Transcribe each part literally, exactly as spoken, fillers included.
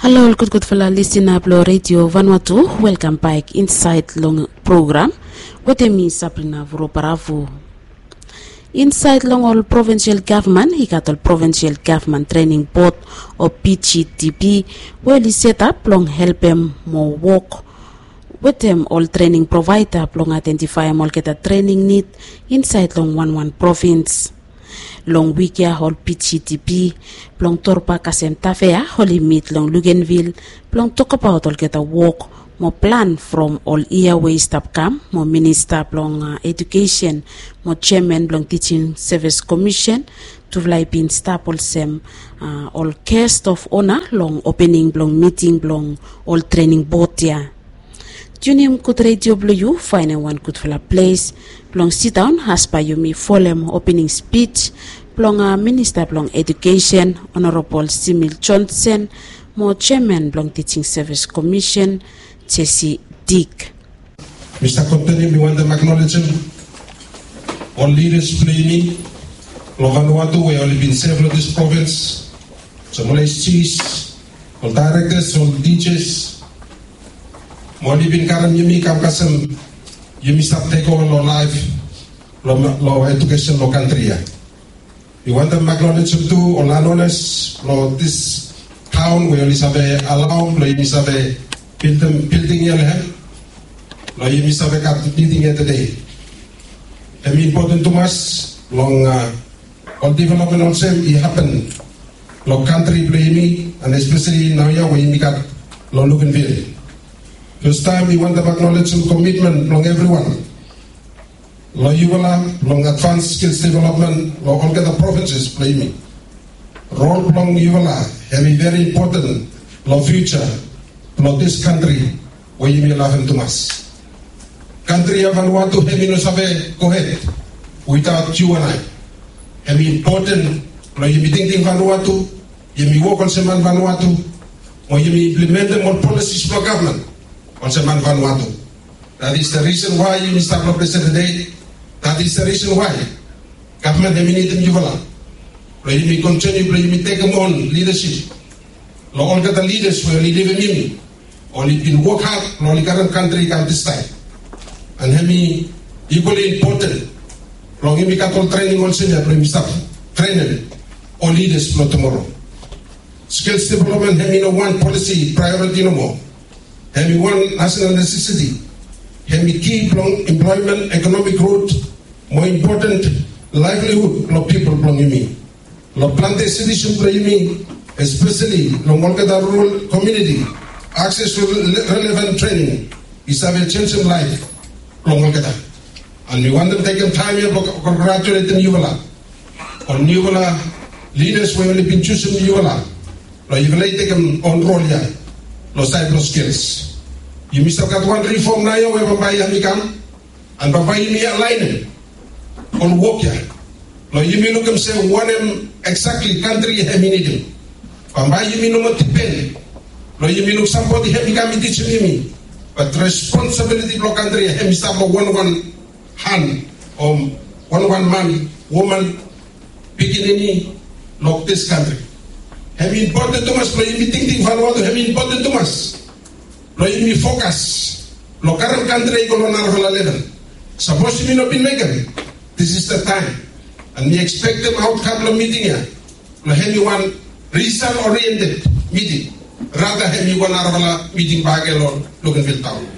Halo ol gudgudfala lisina blong Redio Vanuatu, welkam bak insaed long program wetem mi, Sabrina Vurobaravu. Insaed long ol provinsel gavman i gat ol provinsel gavman trening bod o P G T P we oli setap blong helpem mo wok wetem ol trening provaeda blong aedentifaem olgeta trening nid insaed long wanwan provins. Long wik ya ol P G T P blong Torba kasem Tafea oli mit long Luganville blong tokbaot olgeta wok mo plan from ol yia we i stap kam, mo minista blong edukesen mo jeaman blong Tijing Sevis Komisen, tufala i bin stap olsem ol gest of ona long opening blong miting blong ol trening bod ya. Tiunim gud redio blong yu, faenem wan gudfala ples blong sidaon as bae yumi folem opening spij blong minista blong edukesen, Honorabol Simil Johnson, mo jeaman blong Tijing Sevis Komisen, Jesse Dick. Mi stap kontiniu, mi wantem aknolejem ol lidas blong yumi long Vanuatu we oli bin sev long dis provins, olsem ol S Gs, ol daerektas, ol tijas, mo oli bin karem yumi kam kasem yumi stap tekovaa long laef, long edukesen long kantri ya. Mi wantem aknolejem tu ol landonas long dis taon we oli save alaoem blong yumi save bildim bilding ya long hem, blong yumi save gat miting ya tede. Hem i impoten tumas long ol developmen olsem i hapen long kantri blong yumi, and espeseli naoia we yumi gat long Luganville. Fastaem mi wantem aknolejem komitmen blong evriwan long yufala long advans skils developmen long olgeta provinses blong yumi. Rol blong yufala hem i veri impoten long fiuja blong dis kantri we yumi lavem tumas. Kantri ya Vanuatu hem i no save gohed witaot yu and I. Hem i impoten blong yumi tingting Vanuatu, yumi wok olsem man Vanuatu, mo yumi implementem ol polisis blong gavman olsem man Vanuatu. That is the reason why yumi stap long ples ya tede. That is the reason why gavman hem i nidim yufala blong yumi kontiniu blong yumi tekem on lidasip long olgeta lidas we oli livim yumi. Oli bin wok had blong oli karem kantri i kam distaem. And hem i ikwali impoten blong yumi gat ol trening olsem ya blong yumi stap trenem ol lidas blong tumoro. Skils developmen hem i no wan polisi praeoriti nomo. Hem i wan nasenal nesesiti. Hem i ki blong emploemen, ekonomik grot, mo impoten laevlihud blong pipol blong yumi. Long plante sitisen blong yumi, espeseli long olgeta rural komuniti, akses long relevan trening i save jenisim laef blong olgeta. And mi wantem tekem taem ya blong kongratuletem yufala, ol niufala lidas we oli bin jusum yufala blong yufala i tekem on rol ya long saed blong skils. Yumi stap gat wan rifom naoia we bambae hem i kam, and bambae yumi alaenem ol wok ya blong yumi lukim se wanem eksakli kantri hem i nidim. Bambae yumi no moa dipen blong yumi luk sambodi hem i kam i tijim yumi. Bat responsabiliti blong kantri hem i stap long wanwan han o wanwan man, woman, pikinini long dis kantri. Hem i impoten tumas blong yumi tingting Vanuatu, hem i impoten tumas blong yumi fokas long karem kantri i go long narafala level. Sapos yumi no bin mekem, this is the time. And mi ekspektem aotkam blong miting ya blong hem i wan result oriented miting, rata hem i wan narafala miting bakegen long Luganville taon.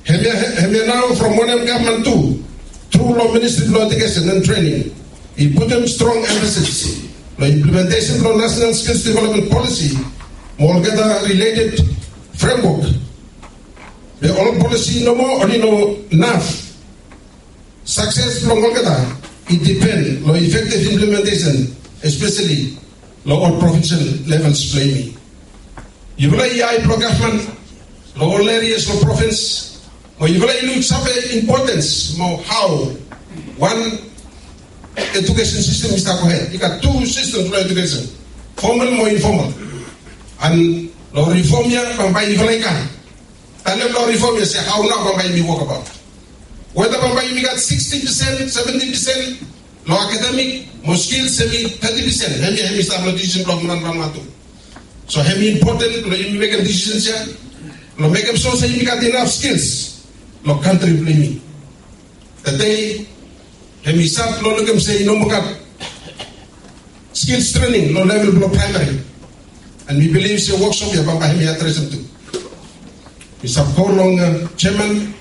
Hemia, hemia nao from wanem gavman tu tru long Ministri blong Edukesen and Trening i putum strong emphasis long implementesen blong National Skills Development Policy mo olgeta related framework. Be ol polisi nomo oli no naf. Sukses blong olgeta i dipen long efektiv implementesen, espeseli long ol provinsel levels blong yumi. Yufala i ai blong gavman long ol erias long provins, mo yufala i luksave impotens mo hao wan edukesen sistem i stap gohed. I gat tu sistem blong edukesen, fomal mo infomal. And long rifom ya bambae yufala i kam talem long rifom ya se hao nao bambae yumi wokabaot. Weta bambae yumi gat siksti pesen, seventi pesen long akademik mo skils, hemi teti pesen hemia hem i stap long disisen blong man Vanuatu. So hemi impoten long yumi mekem disisen ya long mekem sua se yumi gat inaf skils long kantri blong yumi. Tede hemi sad long lukim se i no moa gat skils trening long level blong praemari. And mi bilif se woksop ya bambae hemi adresem tu. Mi save go long jeman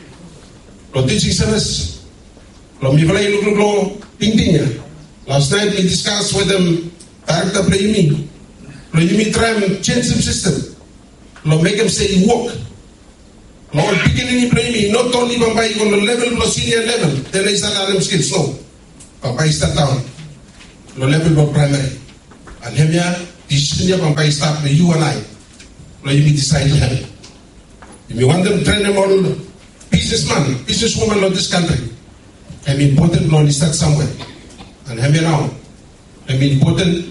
blong tising sevis blong mifala i lukluk long tingting ya. Las naet mi diskas wetem daerekta blong yumi blong yumi traem jenjem sistem blong mekem se i wok long ol pikinini blong yumi, not only bambae i go long level blong sinia level, tede i save lanem skils. No, bambae i stap daon long level blong praemari. And hemia disisen ya bambae i stap long yu and I blong yumi disaed long hem. Yumi wantem trenem ol bisnesman, bisneswoman long dis kantri. Hem impoten blong oli stat samwea. And hemia nao hem impoten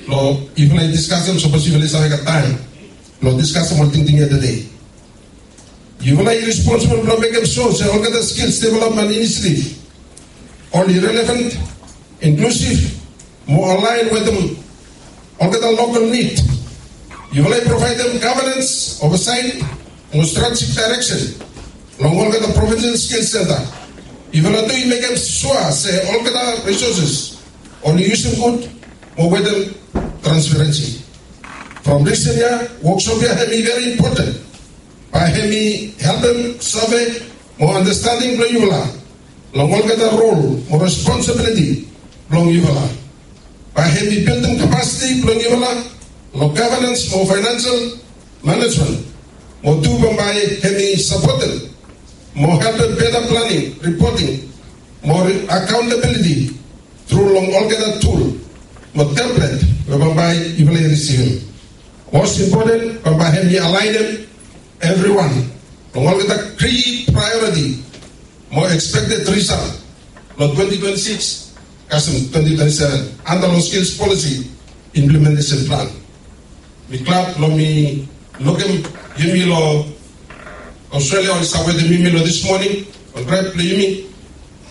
blong yufala i diskasem, sapos yufala i save gat taem blong diskasem ol tingting ya tede. Yufala i responsibol blong mekem sua se olgeta skils developmen inisiativ oli relevan, inklusif mo alaen wetem olgeta lokal nid. Yufala i provaedem gavenens, ovasaet mo stratejik daereksen long olgeta provinsel skils senta. Yufala tu i mekem sua se olgeta risoses oli yusum gud mo wetem transparensi. From risen ya, woksop ya hemi veri impoten. Bae hemi helpem save mo andastanding blong yufala long olgeta rol mo responsibiliti blong yufala. Bae hemi bildim kapasiti blong yufala long gavenens mo faenansel manejmen. Mo tu bambae hemi sapotem mo helpem beta planing, ripoting mo akaontabiliti tru long olgeta tul mo templet we bambae yufala i risivim. Mos impoten, bambae hemi alaenem evriwan long olgeta kri praeoriti mo ekspekted risal long twenti twenti sikis kasem twenti twenti seven anda long skils polisi implementesen plan. Mi glad blong mi lukim yumi long Australia oli stap wetem yumi long dis moning, ol rep blong yumi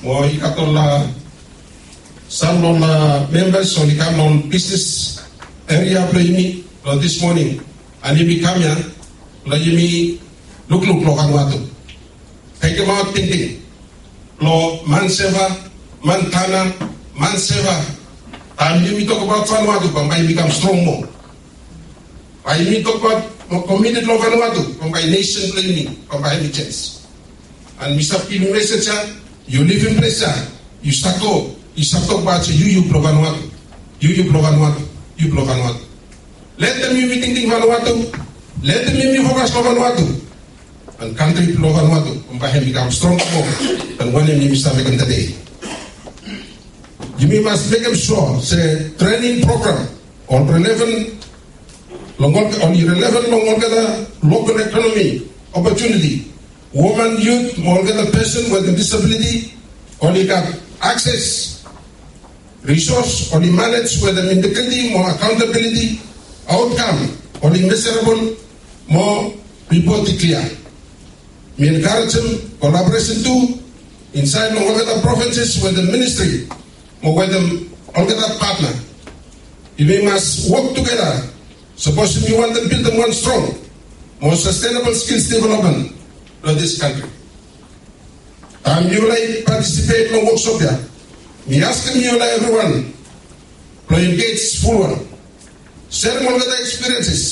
mo i gat ol, a, sam long ol membas oli kam long bisnes eria blong yumi long dis moning. And yumi kam ya blong yumi lukluk long Vanuatu, tekemaot tingting long man Seva, man Tana, man Seva. Taem yumi tokbaot Vanuatu, bambae yumi kam strong moa. Bae yumi tokbaot mo komited long Vanuatu, bambae nesen blong yumi bambae hemi jenj. And mi stap givim mesej ya, yu livim ples ya, yu stap go, yu stap tokbaot se yu, yu blong Vanuatu, yu, yu blong Vanuatu, yu blong Vanuatu. Letem yumi tingting Vanuatu, letem yumi fokas long Vanuatu. And kantri blong Vanuatu bambae hemi kam strong moa dan wanem yumi stap mekem tede. Yumi mas mekem sua se trening program oli relevan long ol, oli relevan long olgeta lokal ekonomi opotuniti. Woman, yut mo olgeta pesen wetem disabiliti oli gat akses, risos oli manej wetem integriti mo akaontabiliti, aotkam oli meserabol mo ripot i klia. Mi enkarejem kolaboresen tu insaed long olgeta provinses wetem ministri mo wetem olgeta patna. Yumi mas wok tugeta sapos yumi wantem bildim wan strong mo sastenabol skils developmen long dis kantri. Taem yufala i patisipet long woksop ya, mi askem yufala evriwan blong engej fulwan, serem olgeta ekspirienses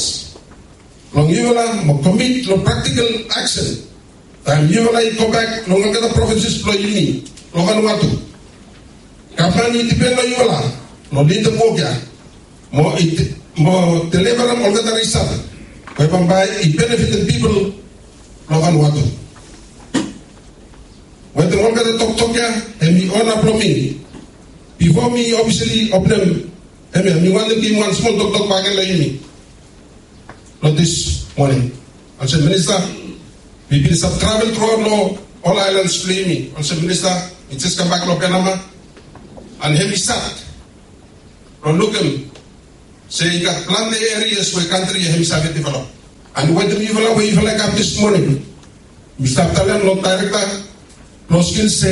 blong yufala mo komit long praktikal aksen taem yufala i gobak long olgeta provinses blong yumi long Vanuatu. Gavman i dipen long yufala long lidim wok ya mo i, mo delivarem olgeta risal we bambae i benefitim pipol blong Vanuatu. Wetem olgeta toktok ya, hemi ona blong mi, bifo mi ofisali openem hemia, mi wantem givim wan smol toktok bakegen long yumi long dis moning. Olsem minista, mi bin save travel truaot long ol aelans blong yumi. Olsem minista, mi jes kambak long Panama, and hemi sad blong lukim se i gat plante erias we kantri ya hemi save develop. And wetem yufala we yufala i kam dis moning, mi stap talem long daerekta blong skils se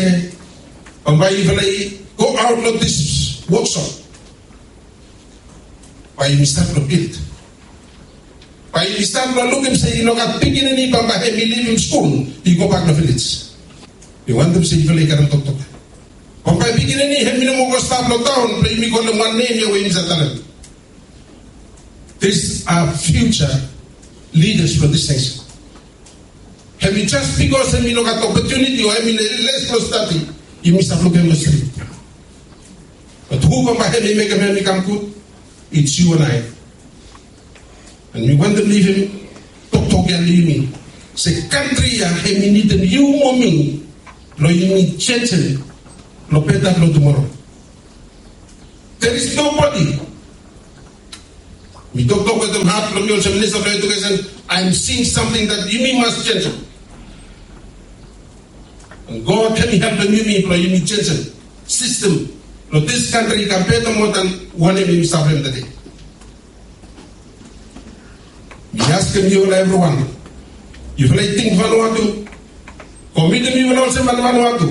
bambae yufala i go aot long dis woksop, bae yumi stat long bild. Bae yumi stat long lukim se i no gat pikinini bambae hemi livim skul i gobak long vilej. Mi wantem se yufala i gat toktok. Bambae pikinini hemi no moa go stap long taon blong yumi kolem wan nem ia we yumi save talem. These are future leaders for this nation. Hemi jes bikos hemi no gat opotuniti o hemi les blong stadi, yumi save lukim hem long strit. Bat hu bambae hemi mekem hemi kam gud? It's you and I. And mi wantem lifim toktok ia long yumi se kantri ia hemi nidim yu mo mi blong yumi jenjem long beta blong tumoro. There is nobody. Mi toktok wetem hat blong mi olsem Minista blong Edukesen, I am seeing something that yumi mas jenjem. And God hemi helpem yumi blong yumi jenjem sistem blong this kantri i kam beta moa dan wanem yumi stap long hem tede. Mi askem yufala evriwan, yufala i ting Vanuatu, komitim yufala olsem man Vanuatu.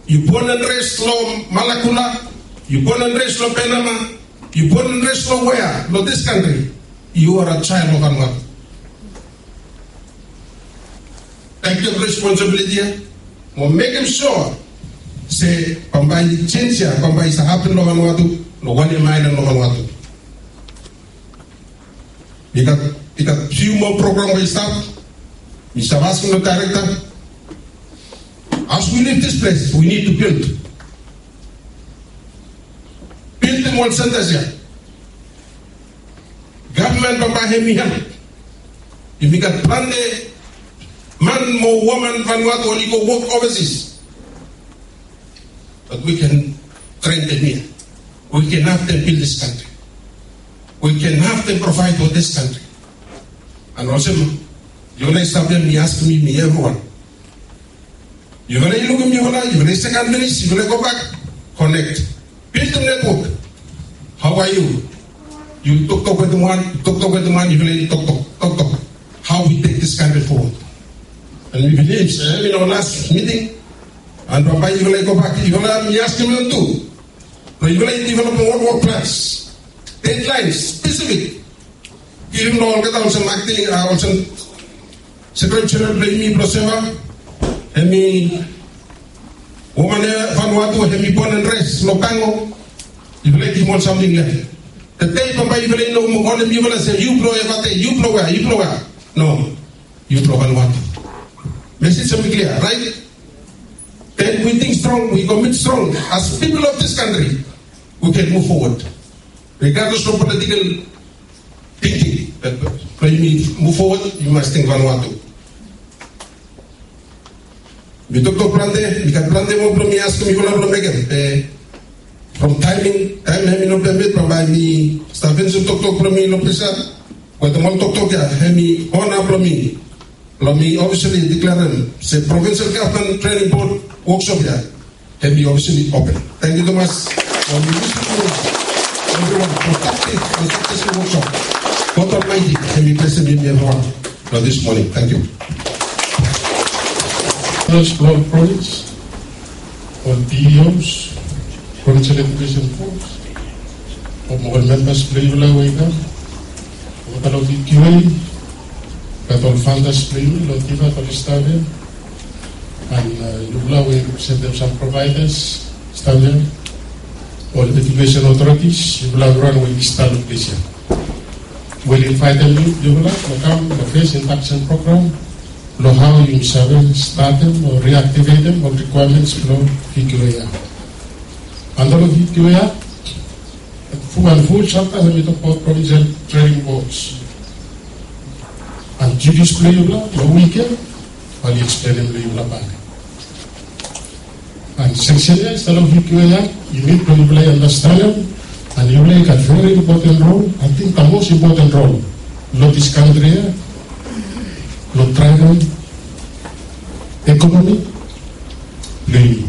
Yu bon and res long Malakula, yu bon and res long Penama, yu bon and res long wea long this kantri, yu are a jael blong Vanuatu. Tek dat responsibiliti ia mo mekem sua se bambae jenj ia bambae i save hapen long Vanuatu, long wanem aelan long Vanuatu. I gat, i gat fiu moa program we i stap. Mi save askem long daerekta, as we leave this place we need to build. Bildim ol sentas ia. Gavman bambae hemi help. Yumi gat plante man mo woman Vanuatu oli go wok ovasis. But we can train them here. We can have them build this country. We can have them provide for this country. And olsem yufala i stap ia, mi askem yumi evriwan. Yufala i lukim yufala, yufala i sekem finis, yufala i gobak, connect. Buildim network. How are you? Yu toktok wetem wan, yu toktok wetem wan, yufala i toktok, toktok. How we take this country forward? And mi bilif se hemi long las miting. And bambae yufala i gobak, yufala mi askem yufala tu. Blong yufala i developem ol wok plans, deadlines, spesifik. Givim long olgeta olsem akting, a, olsem Sekretari Jeneral blong yumi blong SEWA, hemi woman ia Vanuatu, hemi bon and res long Pango. Yufala i givim ol samting ia. Tede bambae yufala i no olem yufala se yu blong Evate, yu blong wea, yu blong wea. No. Yu blong Vanuatu. Mesej hemi klia, raet? Then we think strong, we commit strong as people of this country, we can move forward. Regardless of political thinking, but when we move forward, you must think Vanuatu. Mi toktok plante, mi gat plante moa blong mi askem yufala blong mekem. Be from taem, taem hemi no permit, bambae mi stap finis toktok blong mi long ples ia. Wetem ol toktok ia, hemi ona blong mi blong mi ofisali deklarem se Provincial Government Training Board workshop ia hemi ofisali open. Tangkiu tumas. Long mi wisim yufala evriwan productive and successful workshop. God Almighty hemi blesem yumi evriwan long this morning. Tangkiu. First floor province. Ol D E Os, Provincial Education Board, mo ol membas blong yufala we i kam, olgeta long V Q A, gat ol founders blong yumi long DFAT oli stap ia, and, a, yufala we i representem sam provaedas stap ia, ol education authorities, yufala evriwan we i stap long ples ia. We'll invaetem yufala blong kam long fes indakshen program blong hao yumi save statem o riaktivetem ol rikwaemens blong V Q A ia. Anda long V Q A ia, ful, wan ful japta hemi tokbaot Provincial Training Boards. And duties blong yufala long wik ia, bae oli eksplenem long yufala bak. And seksen ia i stap long V Q A ia, i nid blong yufala i andastanem, and yufala i gat very important role, ating the most important role long this country ia, long draevem ekonomi blong yumi.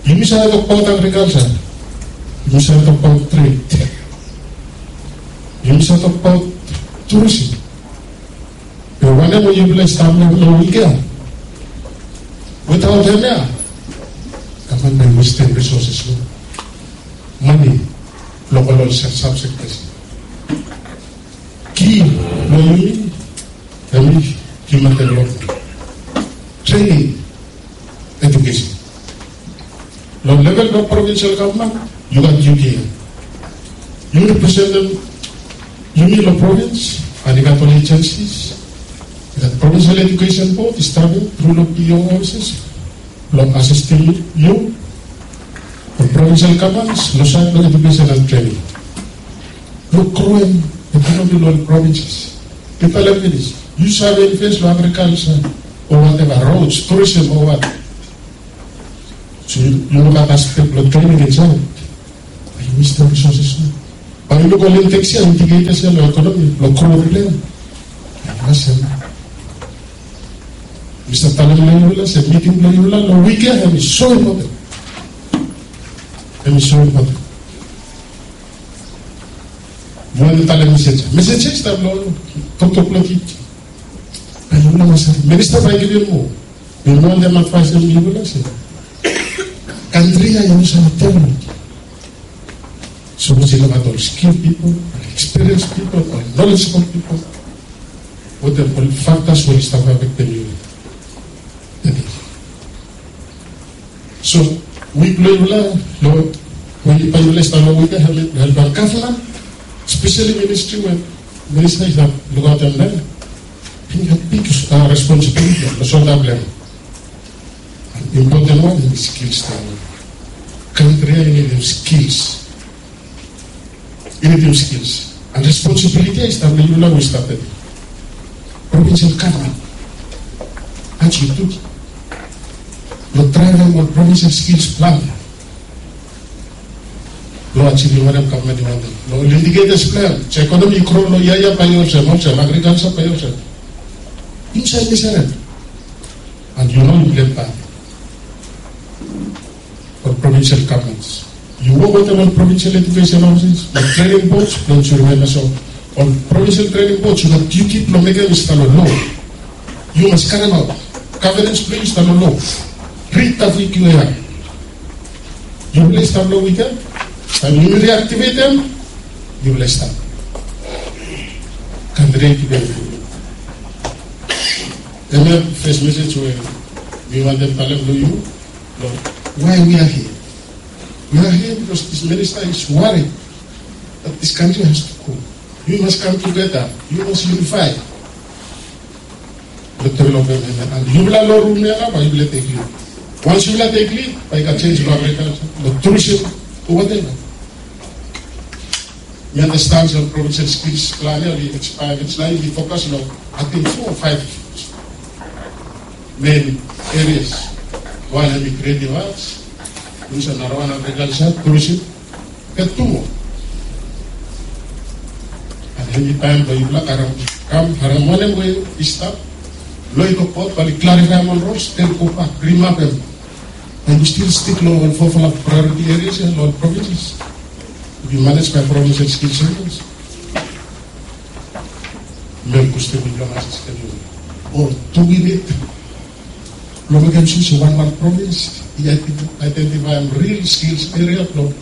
Yumi save tokbaot agrikalja, yumi save tokbaot tred, yumi save tokbaot turisem. Be wanem we yufala i stap long wik ia? Wetaot hemia, gavman bae i westem risoses long mane blong ol, ol sabsektas. Yumi, hemi human development, training, education. Long level blong provincial gavman, yu gat duty ya. Yu representem yumi long provins, and i gat ol agencies. I gat Provincial Education Board i stap ya tru long P O offices blong asistem yu, ol provincial gavmans long saed blong education and training. Long groem ekonomi long ol provinces. Mi talem finis, yu save invest long agriculture o whatever, roads, tourism o what. So yu, yu no gat aspek blong training insaed. Yu mistem resources nao. Bae yu luk ol indeks ya, indicators ya long ekonomi, long growth plan. Yu mas, mi stap talem long yufala se miting blong yufala long wik ya hemi so impoten. Hemi so impoten. Mi wantem talem mesej ya. Mesej ya i stap long toktok blong tij. Bae yufala mas save. Minista bae i givim moa. Mi wantem advaesem yufala se kantri ya i no save develop sapos i no gat ol skilled people, experienced people, ol knowledgeable people. Wetem ol factors we oli stap afektem yu. So wik blong yufala, long, we bae yufala i stap long wik ya, helpem gavman, especially ministri we minista i stap lukaotem nao, i gat big, uh, responsibility long solda blong hem. An impoten wan hemi skills. Kantri ya i nidim skills. I nidim skills. An responsibility ya i stap long yufala we i stap ya. Provincial gavman. That's your duty. Long draevem ol provincial skills plan. Long ajivim wanem gavman i wantem. Long indicators blong hem. Se ekonomi i gro long yia ya bae olsem, olsem, agriculture bae olsem. Yu save meserem. And yu no yu blame bad. Ol provincial gavmans. Yu wok wetem ol provincial education offices, ol training boards, blong yu rimemba so ol provincial training boards, yu gat duty blong mekem i stap long lo. Yu mas karemaot. Governance blong yu i stap long lo. Rid of E Q A R. Yufala i stap long wik ya. Taem yumi reactivatem, yufala i stap. Kantri ya i givim. Hemia fes mesej we mi wantem talem long yu. Long why we are here. We are here because this minister is worried that this country has to go. We must come together. We must unify. Long development, and yufala long rum ya nao bae yufala tek lid. Once yufala tek lid, bae i gat jenis long agriculture, long tourism, o whatever. Mi understand se ol provincial skills plan ya oli expire, it's like we focus long, I think, four or five main areas. Wan hemi creative arts, narawan agriculture, tourism, gat tu moa. And hemi taem blong yufala karem, kam harem wanem we i stap. Lo i tokbaot bae oli klarifaem ol rods, den gobak, rimapem. And we still stick long ol fofala priority areas ya long ol provinces. To be managed by provincial skills areas. Mi wan kwestin blong askem yu. O do we need blong mekem sua se wanwan provins i identifaem real skills area blong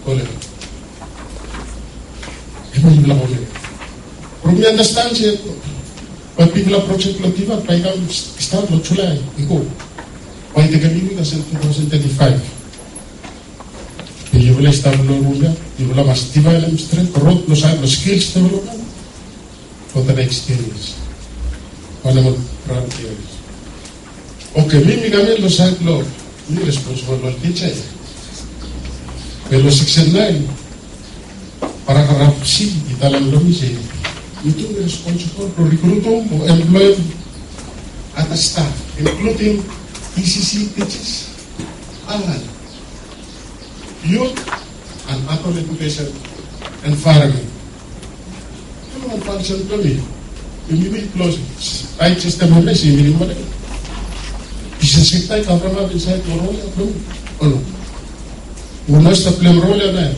kolem? Hemia yufala go mekem. From mi understand se bae bigfala project blong Tiva bae i kam stat long Julai i go. Bae i tekem yumi kasem two thousand thirty-five. Be yufala i stap long rum ya, yufala mas divaedem stret rod long saed long skills development for the next ten years. Wanem ol priority areas? Oke, mi, mi kam ya long saed blong, mi responsible long tija ya. Be long section nine, paragraph C i talem long mi se mi tu mi responsible blong rekrutum o employem other staff, including E C C teachers, allied youth and adult education environment. Hemia wan function blong mi. Yumi nid blong taet sistem hemia se yumi nid wanem? Teachers sekta i kavremap insaed long rol ya blong mi o no? Yu mas stap blame rol ya nao.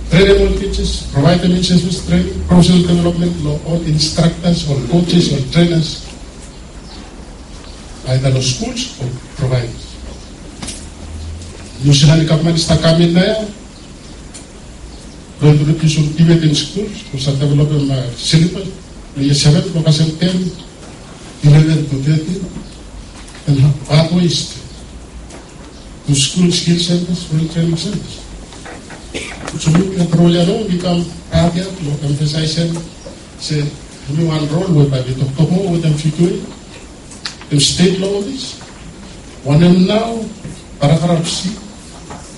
Trenem ol teachers, provaedem in-service training, professional development long ol instructors, ol coaches, ol trainers. Aida long schools o providers. Niu Silan gavman i stap kam in nao ya. Blong introdiusim TVET in skul blong save developem silabas blong yia seven blong kasem ten, eleven to thirteen, and pathways to school skill centers, skill training centers. So mi gat rol ia nao mi kam pat ia blong emfasaesem se hemi wan rol we bae mi toktok moa wetem fitu, wetem stet long ol dis. Wanem nao, paragraf C,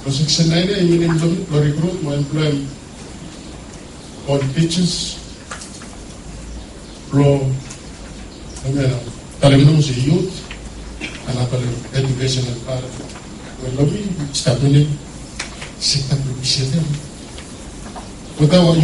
long seksen naen ia i minim blong mi blong rikrut mo emploem ol tijas blong, hemia nao, talem nao se yut, ana talem edukesen. Wel long mi, mi stap winim sekta blong bisetem. Wetem ol